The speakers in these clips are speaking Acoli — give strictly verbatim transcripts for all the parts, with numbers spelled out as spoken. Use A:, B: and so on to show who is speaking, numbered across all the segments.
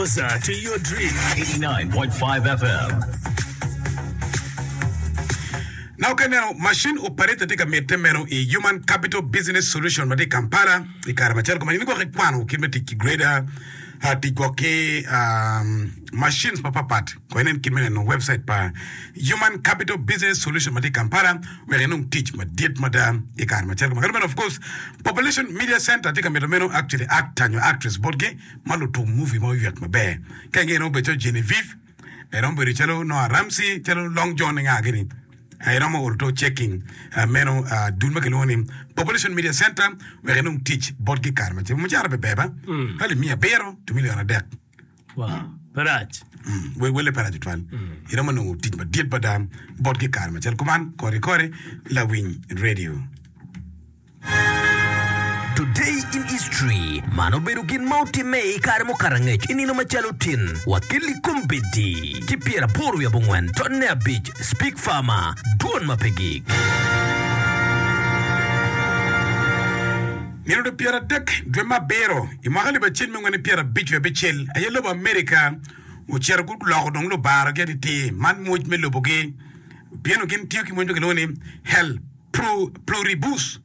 A: Closer to your dream.
B: eighty-nine point five F M.
C: Now ka ineno machine operator tye ka mitte meno i Human Capital Business Solution ma tye i Kampala i kare macalo kuman in gwok ikwano kit me tic ki grader, ah, tic gwok ki um, machines mapatpat ko inen kit me neno website pa Human Capital Business Solution ma tye i Kampala wek inong tic madit mada i kare macalo kuman. Kadi bene of course Population Media Center tye ka mito meno actually actor nyo actress botgi ma lutuk movie ma oywek maber. Ka inge inongo bedo calo Genevieve, iromo bedo calo Noah Ramsey, calo Long John nga gini. Iromo oro to checking uh, meno uh, dul ma kilwongo ni Population Media Center wek inong tic botgi kare macalo mucara be ber ba alip miya abiro to million adek.
A: Wow. Pe rac.
C: Mm, we wele pe rac tutwal. Iromo nongo tic madit mada botgi kare macalo kuman kori kori lawiny radio.
D: Today in History man obedo gin ma otimme i kare mukato angec i nino macalo tin wakelli kombeddi ki pyeraboro wiye abongwen tonne abic Speak Farmer dwon ma pe gik.
C: Nino dwe pyeradek dwe me abiro i mwaka alip acel miya angwen ki pyerabic wiye abicel aye lobo Amerika ocito guloko dong lubarogi atitir man mwoc me lobogi pieno gin tiyo ki mwoc ma kilwongo ni El Pluribus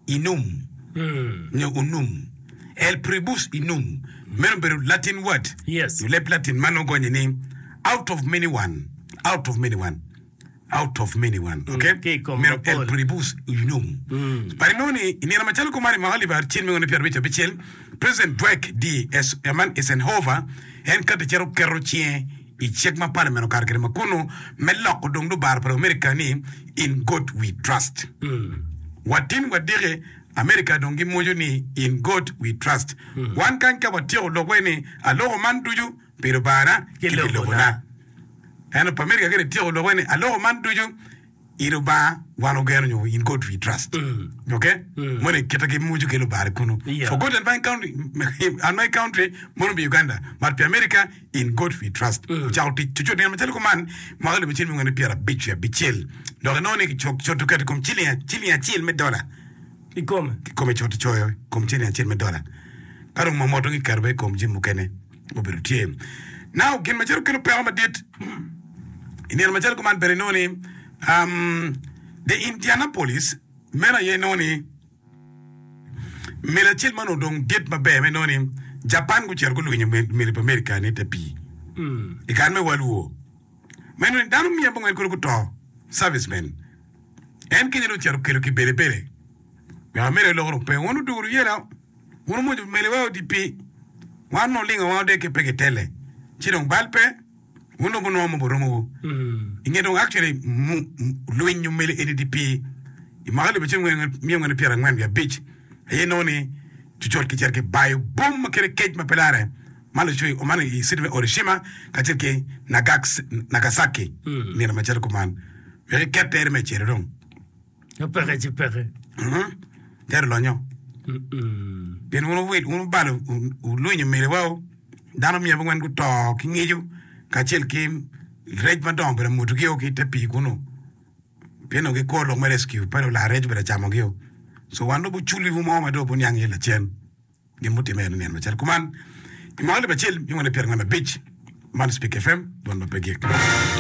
C: Unum nyo Unum El Pluribus Unum meno obedo Latin word.
A: Yes.
C: Leb Latin man ogonye ni out of many one, out of many one, out of many one. Okay?
A: Ki i kom
C: Meno
A: mapol.
C: El Pluribus Unum. But inongo ni i nino macalo kuman i mwaka alip acel miya angwen ki pyerabic abicel President Dwight D. Man Eisenhower en kati cito keto cinge i cik ma parliament okato kwede ma kunu me loko dong lubaro pa America ni In God We Trust. Watin wadiki America dong gimwoco ni In God We Trust. Wan kany ka watyeko lokwa ni aloko man ducu pi Lubanga ki pi lobona. Ento pa America kene tyeko lokwa ni aloko man ducu i Lubanga wan ogeno nyo In God We Trust. Okay? Moni kite gimwoco ki Lubanga kunu.
A: Yeah.
C: For God and my country, and my country mono pi Uganda, but pi America In God We Trust. Ocako tic cucut nino macalo kuman mwaka alip acel miya angwen ki pyerabic wiye abicel dok inongo ni kicoto keto i kom ciling ciling acel me dola.
A: I kome.
C: Kikome coto coyo i kom ciling acel me dola. Ka dong mamot dong kiketo bene i kom jami mukene mubedo tye. Now gin macalo kelo peko madit i nino macalo kuman bene inongo ni um, the Indianapolis meno aye inongo ni meli acel ma onongo dong dit maber ma inongo ni Japan gucito gulwinyo meli pa America ni te pii i kare me World War ma inongo ni dano miya abongwen kulu guto servicemen en kenyo dong ocito okelo kibelebele wek America oloko dong pe wun odwogo luyela wun omwonyo meliwa odi pii wan onongo lingo wa odeke pe kitele ci dong bal pe wun dong wunongo mo buromowu i nge dong actually lwinyo meli eni di pii i mwaka alip acel miya angwen ki pyerangwen wiye abic aye inongo ni cucut kicito kibayo bom ma kite kec ma pe lare ma lucoyo man i city me Hiroshima kacel ki Nagasaki nino macalo kuman wek iket tere me ecelo dong.
A: Ka peke ci peke.
C: Tere olonyo. Pien wun wuwil, wun wubalo, wulwinyo meliwa, dano miya abongwen guto ki ngico kacel ki rec madongo obedo amutogi ki i te pii kunu. Pien onongo gikuro lok me rescue, pe dong lar rec obedo acamogio. So wan dong buculiwu mo ma dong wubuniang iye lacen. Gin mutimme en nino macalo kuman i mwaka alip acel miya angwen ki pyerangwen abic. Man Speak F M, dwon ma pe gik.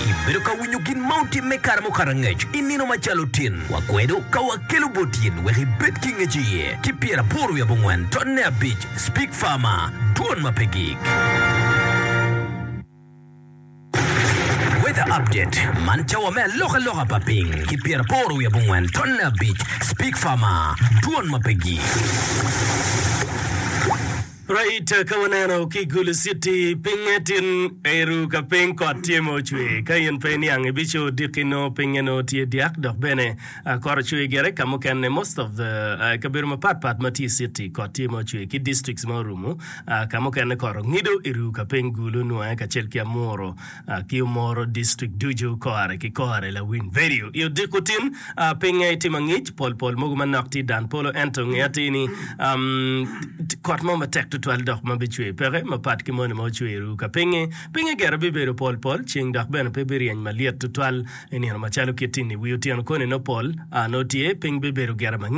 D: Ibedo ka winyo gin ma otimme kare mukato angec i nino macalo tin. Wakwedo ka wakelo bot in wek ibed ki ngec iye ki pyeraboro wiye abongwen tonne abic Speak Farmer, dwon ma pe gik. Weather Update, Man cawa me alokaloka pa piny ki pyeraboro wiye abongwen tonne abic Speak Farmer, dwon ma pe gik.
A: Right, ka waneno ki Gulu City pinye tin eru ka piny kot tye ma ocwe. Ka in pe iniang ibico odiki nongo pinye nongo tye dyak dok bene kot ocwe gire ka mukene most of the kabedo mapat pat ma tye i city kot tye ma ocwe ki districts ma orumo ka mukene kot ongido iru ka piny Gulu nwange kacel ki Amuru ki Omoro district ducu kore ki kore lawiny vedio i odiko tin pinye tye mangic pol pol mogo manok tye dan polo ento nge atir ni kot mo matek tutwal dok ma bicwer peke mapat ki moni ma ocwer-ru ka pinye. Pinye gire bibedo pol pol, ceng dok bene pe biryeny malyet tutwal i nino macalo kit-ti-ni. Wi otyeno koni nongo pol nongo tye, piny bibedo gire mangic.